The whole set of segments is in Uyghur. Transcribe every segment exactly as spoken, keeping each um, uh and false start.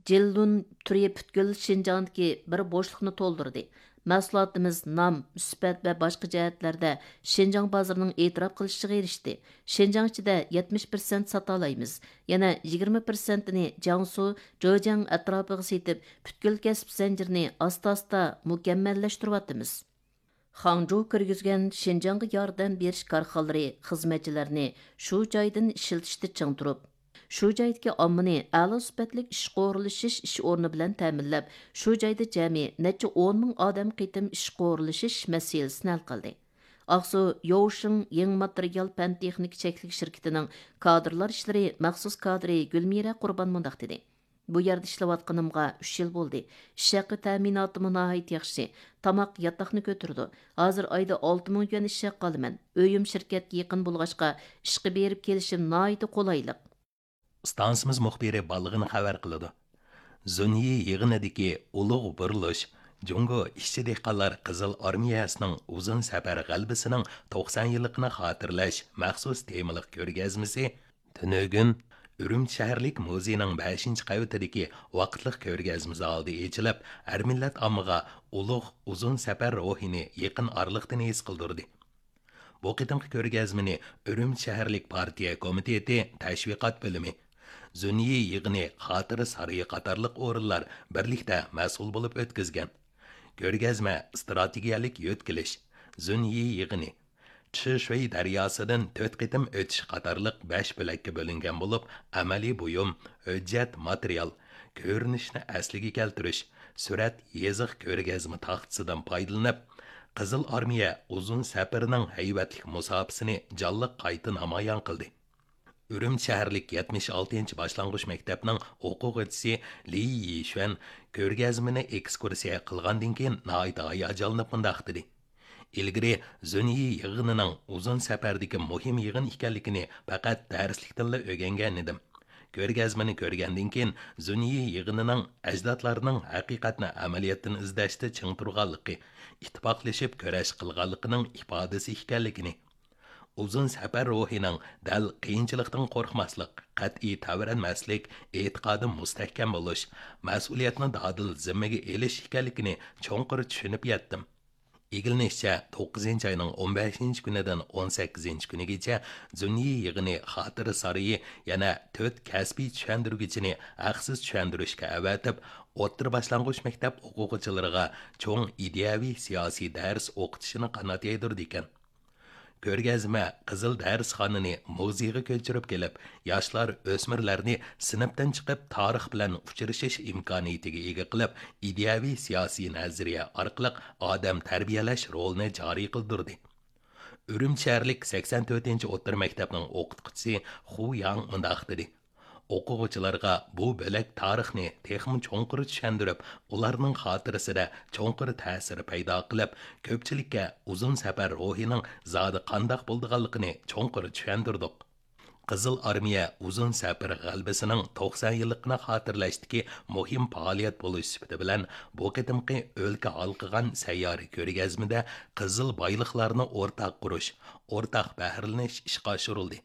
جىللۇن تۈرى پۈتكۈل شىنجاڭدىكى بىر بوشلۇقنى تولدۇردى. مەھسۇلاتىمىز نام، سۈپەت ۋە باشقا جەھەتلەردە شىنجاڭ بازىرىنىڭ ئېتىراپ قىلىشىغا ئېرىشتى. شىنجاڭ ئىچىدە يەتمىش پىرسەنت ساتالايمىز. يەنە يىگىرمە پىرسەنتىنى جياڭسۇ، جېجياڭ ئەتراپىغا سېتىپ، پۈتكۈل كەسىپ زەنجىرىنى ئاستا-ئاستا مۇكەممەللەشتۈرۈۋاتىمىز. خاڭجۇ كىرگۈزگەن شىنجاڭغا ياردەم بېرىش كارخانىلىرى خىزمەتچىلەرنى شۇ جايدىن ئىشلىتىشتە چىڭ تۇرۇپ، شۇ جايدىكى ئاممىنى ئەلا سۈپەتلىك ئىشقا ئورۇنلىشىش ئىش ئورنى بىلەن تەمىنلەپ، شۇ جايدا جەمئىي نەچچە ئون مىڭ ئادەم قېتىم ئىشقا ئورۇنلىشىش مەسىلىسىنى ھەل قىلدى. ئاقسۇ يوۋشىڭ يېڭى ماتېرىيال پەن تېخنىكا چەكلىك شىركىتىنىڭ كادىرلار ئىشلىرى مەخسۇس كادىرى گۈلمىرە قۇربان مۇنداق دېدى: بۇ يەردە ئىشلەۋاتقىنىمغا ئۈچ يىل بولدى. ئىش ھەققى تەمىناتىمۇ ناھايىتى ياخشى. تاماق، ياتاقنى كۆتۈرىدۇ. ھازىر ئايدا ئالتە مىڭ يۈەن ئىش ھەققى ئالىمەن. ئۆيۈم شىركەتكە يېقىن بولغاچقا، ئىشقا بېرىپ كېلىشىم ناھايىتى قولايلىق. ئىستانسىمىز مۇخبىرى بالىغىنى خەۋەر قىلىدۇ. زۇنيى يىغىنىدىكى ئۇلۇغ بۇرۇلۇش جۇڭگو ئىشچى دېھقانلار قىزىل ئارمىيەسىنىڭ ئۇزۇن سەپەر غەلىبىسىنىڭ توقسان يىللىقىنى خاتىرىلەش مەخسۇس تېمىلىق كۆرگەزمىسى تۈنۈگۈن ئۈرۈمچى شەھەرلىك مۇزېينىڭ بەشىنچى قەۋىتىدىكى ۋاقىتلىق كۆرگەزمە زالىدا ئېچىلىپ، ھەر مىللەت ئاممىغا ئۇلۇغ ئۇزۇن سەپەر روھىنى يېقىن ئارىلىقتىن ھېس قىلدۇردى. بۇ قېتىمقى كۆرگەزمىنى ئۈرۈمچى شەھەرلىك پارتىيە كومىتېتى تەشۋىقات بۆلۈمى، زۈنيى يىغىنى خاتىرە سارىيى قاتارلىق ئورۇنلار بىرلىكتە مەسئۇل بولۇپ ئۆتكۈزگەن. كۆرگەزمە ئىستراتېگىيەلىك يۆتكىلىش، زۈنيى يىغىنى، چىشۈي دەرياسىدىن تۆت قېتىم ئۆتۈش قاتارلىق بەش بۆلەككە بۆلۈنگەن بولۇپ، ئەمەلىي بۇيۇم، ھۆججەت، ماتېرىيال، كۆرۈنۈشنى ئەسلىگە كەلتۈرۈش، سۈرەت، يېزىق، كۆرگەزمە تاختىسىدىن پايدىلىنىپ، قىزىل ئارمىيە ئۇزۇن سەپىرىنىڭ ھەيۋەتلىك مۇساپىسىنى جانلىق قايتا نامايان قىلدى. ئۈرۈمچى شەھەرلىك يەتمىش ئالتىنچى باشلانغۇچ مەكتەپنىڭ ئوقۇغۇچىسى لى يىشۈەن كۆرگەزمىنى ئېكسكۇرسىيە قىلغاندىن كېيىن ناھايىتى ھاياجانلىنىپ مۇنداق دېدى: ئىلگىرى زۈنيى يىغىنىنىڭ ئۇزۇن سەپەردىكى مۇھىم يىغىن ئىكەنلىكىنى پەقەت دەرسلىكتىنلا ئۆگەنگەن ئىدىم. كۆرگەزمىنى كۆرگەندىن كېيىن، زۈنيى يىغىنىنىڭ ئەجدادلارنىڭ ھەقىقەتنى ئەمەلىيەتتىن ئىزدەشتە چىڭ تۇرغانلىقى، ئىتتىپاقلىشىپ كۈرەش قىلغانلىقىنىڭ ئىپادىسى ئىكەنلىكىنى، ئۇزۇن سەپەر روھىنىڭ دەل قىيىنچىلىقتىن قورقماسلىق، قەتئىي تەۋرەنمەسلىك، ئېتىقادى مۇستەھكەم بولۇش، مەسئۇلىيەتنى دادىل زىممىگە ئېلىش ئىكەنلىكىنى چوڭقۇر چۈشىنىپ يەتتىم. ئىگىلىنىشىچە، توققۇزىنچى ئاينىڭ ئون بەشىنچى كۈنىدىن ئون سەككىزىنچى كۈنىگىچە زۈنيى يىغىنى خاتىرە سارىيى يەنە تۆت كەسپىي چۈشەندۈرگۈچىنى ھەقسىز چۈشەندۈرۈشكە ئەۋەتىپ، ئوتتۇرا باشلانغۇچ مەكتەپ ئوقۇغۇچىلىرىغا چوڭ ئىدىيەۋى سىياسىي دەرس ئوقۇتۇشىنى قانات يايدۇرىدىكەن. كۆرگەزمە قىزىل دەرسخانىنى مۇزېيغا كۆچۈرۈپ كېلىپ، ياشلار، ئۆسمۈرلەرنى سىنىپتىن چىقىپ تارىخ بىلەن ئۇچرىشىش ئىمكانىيىتىگە ئىگە قىلىپ، ئىدىيەۋى سىياسىي نەزەرىيە ئارقىلىق ئادەم تەربىيەلەش رولىنى جارى قىلدۇردى. ئۈرۈمچى شەھەرلىك سەكسەن تۆتىنچى ئوتتۇرا مەكتەپنىڭ ئوقۇتقۇچىسى خۇ ياڭ مۇنداق دېدى: ئوقۇغۇچىلارغا بۇ بۆلەك تارىخنى تېخىمۇ چوڭقۇر چۈشەندۈرۈپ، ئۇلارنىڭ خاتىرىسىدە چوڭقۇر تەسىر پەيدا قىلىپ، كۆپچىلىككە ئۇزۇن سەپەر روھىنىڭ زادى قانداق بولىدىغانلىقىنى چوڭقۇر چۈشەندۈردۇق. قىزىل ئارمىيە ئۇزۇن سەپەر غەلىبىسىنىڭ توقسان يىللىقىنى خاتىرىلەشتىكى مۇھىم پائالىيەت بولۇش سۈپىتى بىلەن، بۇ قېتىمقى ئۆلكە ھالقىغان سەييارە كۆرگەزمىدە قىزىل بايلىقلارنى ئورتاق قۇرۇش، ئورتاق بەھرىلىنىش ئىشقا ئاشۇرۇلدى.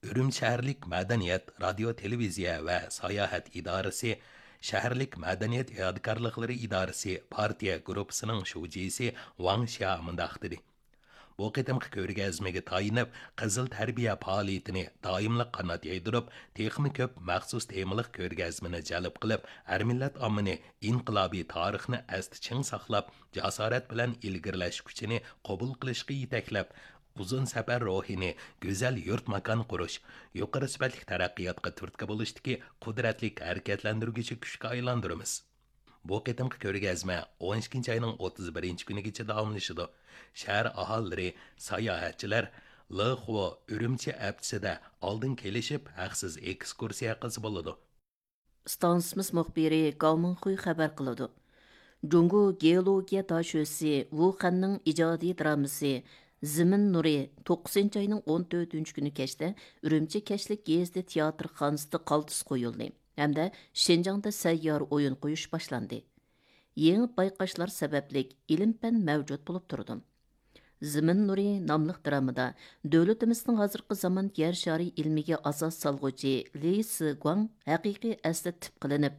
ئۈرۈمچى شەھەرلىك مەدەنىيەت، رادىيو، تېلېۋىزىيە ۋە ساياھەت ئىدارىسى، شەھەرلىك مەدەنىيەت يادىكارلىقلىرى ئىدارىسى پارتىيە گۇرۇپپىسىنىڭ شۇجىسى ۋاڭ شيا مۇنداق دېدى: بۇ قېتىمقى كۆرگەزمىگە تايىنىپ، قىزىل تەربىيە پائالىيىتىنى دائىملىق قانات يايدۇرۇپ، تېخىمۇ كۆپ مەخسۇس تېمىلىق كۆرگەزمىنى جەلپ قىلىپ، ھەر مىللەت ئاممىنى ئىنقىلابىي تارىخنى ئەستە چىڭ ساقلاپ، جاسارەت بىلەن ئىلگىرىلەش كۈچىنى قوبۇل قىلىشقا يېتەكلەپ، ئۇزۇن سەپەر روھىنى گۈزەل يۇرت ماكان قۇرۇش، يۇقىرى سۈپەتلىك تەرەققىياتقا تۈرتكە بولۇشتىكى قۇدرەتلىك ھەرىكەتلەندۈرگۈچى كۈچكە ئايلاندۇرىمىز. بۇ قېتىمقى كۆرگەزمە ئون ئىككىنچى ئاينىڭ ئوتتۇز بىرىنچى كۈنىگىچە داۋاملىشىدۇ. شەھەر ئاھالىلىرى، ساياھەتچىلەر لېخۇ ئۈرۈمچى ھەپتىسىدە ئالدىن كېلىشىپ، ھەقسىز ئېكسكۇرسىيە قىلسا بولىدۇ. ئىستانسىمىز مۇخبىرى گاۋ مىڭخۇي خەۋەر قىلىدۇ. جۇڭگو گېئولوگىيە داشۆسى ۋۇ خەننىڭ ئىجادىي درامىسى زېمىن نۇرى توققۇزىنچى ئاينىڭ ئون تۆتىنچى كۈنى كەچتە ئۈرۈمچى كەچلىك گېزىتى تىياتىرخانىسىدا قالتىس قويۇلدى ھەمدە شىنجاڭدا سەييارە ئويۇن قويۇش باشلاندى. يېڭى بايقاشلار سەۋەبلىك ئىلىم-پەن مەۋجۇت بولۇپ تۇرىدۇ. زېمىن نۇرى ناملىق درامىدا دۆلىتىمىزنىڭ ھازىرقى زامان يەر شارى ئىلمىگە ئاساس سالغۇچى لى سىگۇاڭ ھەقىقىي ئەسلى تىپ قىلىنىپ،